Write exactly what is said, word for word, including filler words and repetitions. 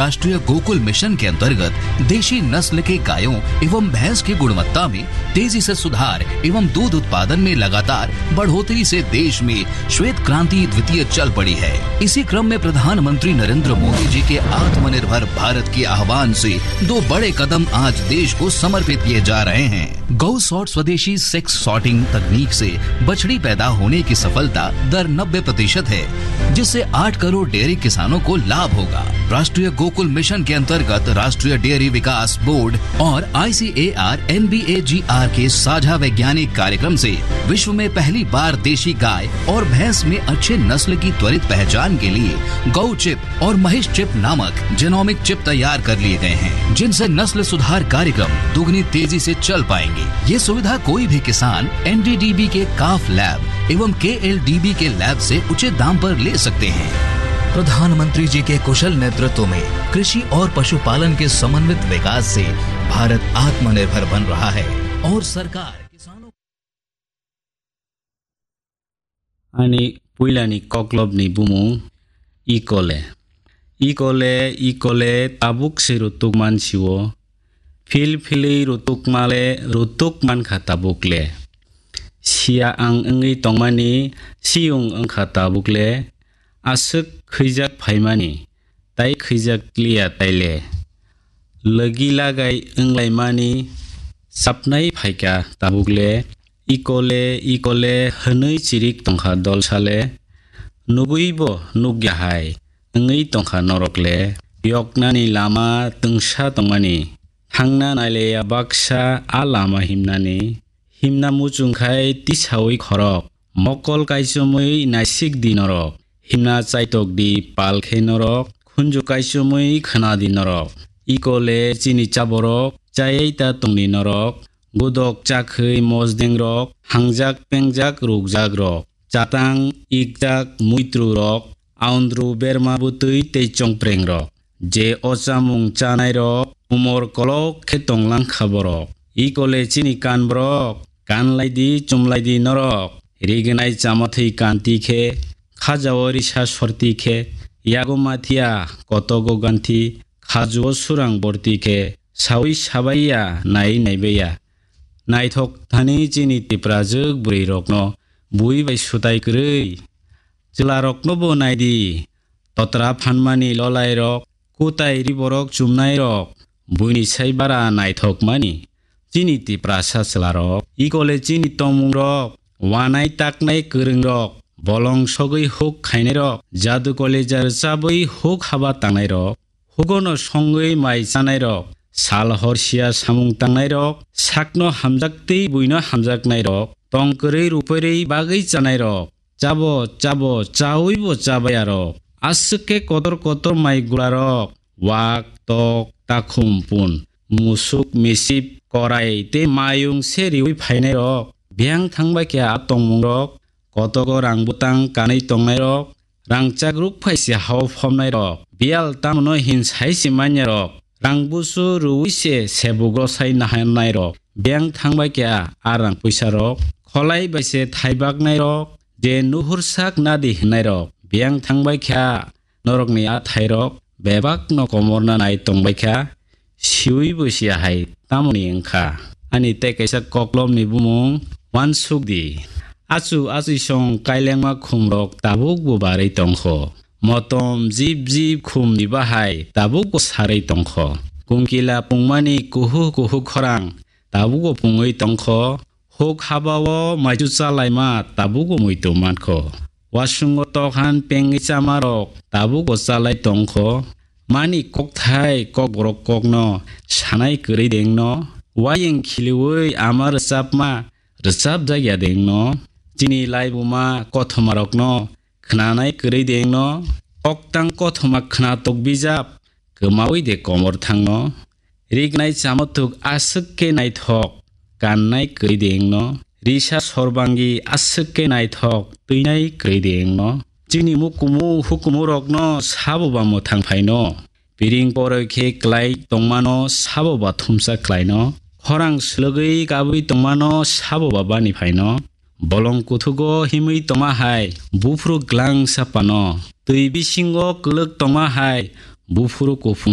राष्ट्रीय गोकुल मिशन के अंतर्गत देशी नस्ल के गायों एवं भैंस की गुणवत्ता में तेजी से सुधार एवं दूध उत्पादन में लगातार बढ़ोतरी से देश में श्वेत क्रांति द्वितीय चल पड़ी है। इसी क्रम में प्रधानमंत्री नरेंद्र मोदी जी के आत्मनिर्भर भारत के आह्वान से दो बड़े कदम आज देश को समर्पित किए जा रहे हैं। गौ सॉर्ट स्वदेशी सेक्स सॉर्टिंग तकनीक से बछड़ी पैदा होने की सफलता दर नब्बे प्रतिशत है, जिससे आठ करोड़ डेयरी किसानों को लाभ होगा। राष्ट्रीय गोकुल मिशन के अंतर्गत राष्ट्रीय डेयरी विकास बोर्ड और आईसीएआर एनबीएजीआर के साझा वैज्ञानिक कार्यक्रम से विश्व में पहली बार देशी गाय और भैंस में अच्छे नस्ल की त्वरित पहचान के लिए गौ चिप और महिष चिप नामक जेनोमिक चिप तैयार कर लिए गए हैं, जिनसे नस्ल सुधार कार्यक्रम दोगुनी तेजी से चल पाएंगे। ये सुविधा कोई भी किसान एनडीडीबी के काफ लैब एवं केएलडीबी के लैब से उचित दाम पर ले सकते हैं। प्रधानमंत्री जी के कुशल नेतृत्व में कृषि और पशुपालन के समन्वित विकास से भारत आत्मनिर्भर बन रहा है और सरकार किसानों Ani puilani koklopni bumung Ikole. Ikole, Ikole, tabuk se rutuk mansio. Phil philwi rutuk male, rutuk mankha tabuk le. Siya ang wngwi tongmani, siyung wngkha tabuk le. Aswk khwijak phaimani, tai khwijak liya taile. Logi lagai wnglaimani, sapnai phaikha tabuk le. Ikole, ikole, hwnwi chirik tongkha dolsale. Nugwibo nukya hai wngwi tongkha norok le. Yoknani lama twngsa tongmani. Thangna naileya baksa a lama himnani. Himna muchung khai tisaui khorok. Mokol kaichomwi naisik di norok. Himna chaitok di pal khe norok. Khunju kaichomwi khna di norok. Ikole chini chaborok, chayai ta tongni norok. Godok chakhwi mosdeng rok, hangjak pengjak rukjak rok, chatang ikjak muitru rok, aundru berma bwtwi tei chongpreng rok. Je o chamung chanai rok, umor kolok khe tonglang kha borok. Ikole chini kan borok, kan lai di, chum lai di norok. Rignai chamathwi kanti khe, khajao risa sorti khe, yago mathiya, kotogo ganthi, khajuo surang borti khe, saui sabaiya, nai naibaiya. Naithok thani chini Tiprajwk bwrwi rokno bui bai sutai kwrwi. Chwla rokno bo naidi, totra phanmani lolai rok, kutai ri borok chumnai rok, buini sai bara naithok mani. Chini Tiprasa chwla rok, ikole chini tongmung rok, wanai taknai kwrwng rok, bolong sogwi huk khainai rok, jadu koleja rwchabwi huk haba tangnai rok, hugono songwi mai chanai rok, sal hor sia samung tangnai rok, sakno hamjak tei buino hamjaknai rok, tong kwrwi ruphwrwi bagwi chanai rok, chabo, chabo, chawi bo chabaya rok, aswk khe kotor kotor mai gula rok, wak, tok, takhum, pun, musuk, misip, korai tei mayung se riwi phainai rok, biyang thangbai khe a tongmung rok, kotogo rang bwtang kanwi tongnai rok, rangchak ruk phai se hao phomnai rok, biyal tamono hin sai se manya rok, rang busu rwi se sebuk rosai nahannai rok, biyang thangbai khe a rang puisa rok, kholai bai se thaibaknai rok, je nuhur sak nadi hwnai rok, biyang thangbai khe a norokni a thairok bebakno komorna nai tongbai kha, siwi bo siya hai tamoni wng kha. Ani tei kaisa koklopni bumung uansuk di. Achu achuisong kailengma khumrok tabuk bo barwi tong kho. Motom jib jib khumni bahai tabuk bo sarwi tong kho. Kungkila pungmani kuhu kuhu khorang tabuk bo pungwi tong kho. Huk haba-o maichu chalaima tabuk bo muitu man kho. Wasungo tokhan pengwi chamarok tabuk bo chalai tong kho. Mani kokthai kokborok kokno sanai kwrwi dengno. Wayeng khiliui ama rwchapma rwchapjakya dengno. Chini laibuma kothomarokno khnanai kwrwi dengno. Koktang kothoma khnatok bijap kwmaui de komor thangno. Rignai chamathuk aswk khe naithok kannai kwrwi de wngno. Risa sorbangi aswk khe naithok twinai kwrwi de wngno. Chini mukumu hukumu rokno sabo ba mwthang phaino. Piring poroi khe klai tongmano sabo ba thumsa klaino. Khorang swlwgwi kabwi tongmano sabo ba bani phaino. Bolong kuthugo himwi tongma hai buphuru glang sapano. Twi bisingo kwlwk tongma hai buphuru kuphung